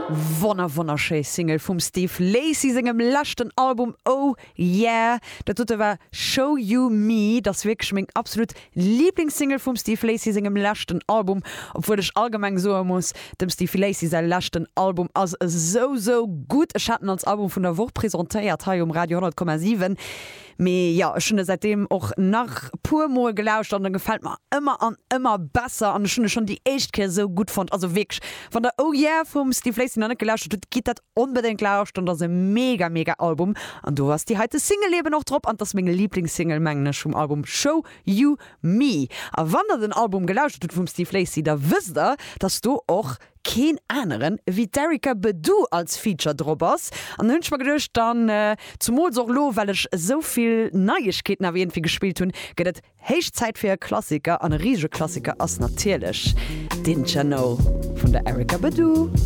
Wonner wonnerschéi Single vum Steve Lacy sengem leschten Album Oh Yeah. Dat dote war Show You Me. Dat ass wierklech meng absolut Liblingssingle vum Steve Lacy sengem leschten Album. Obwuel ech allgemeng soe muss, dem Steve Lacy säi leschten Album ass esou sou gutt. Ech hat en als Album vun der Woch presentéiert hei um Radio 100,7. Mee jo, ech hunn e säitdeem och nach puer mol gelauschtert an e gefält mer ëmmer an ëmmer besser an ech hunn e schonn déi éischt Kéier esou gutt fonnt. Also wierklech, wann der Oh Yeah vum Steve Lacy nach net gelauschtert hutt, gitt dat onbedéngt lauschteren, dat ass e mega mega Album an do ass déi heite Single eben och drop an 't ass meng Liblingssingle mengen ech vum Album Show You Me. A wann der den Album gelauschtert hutt vum Steve Lacy, da wësst der, dass do och keen aneren ewéi d'Erykah Badu als Feature drop ass. An dann hunn ech mer geduecht, dann, zumools och elo well ech esou vill Neiegkeeten awer iergendwéi gespillt hunn, gëtt et héich Zäit fir e Klassiker. An e risege Klassiker ass natierlech Didn't Ya Know vun der Erykah Badu.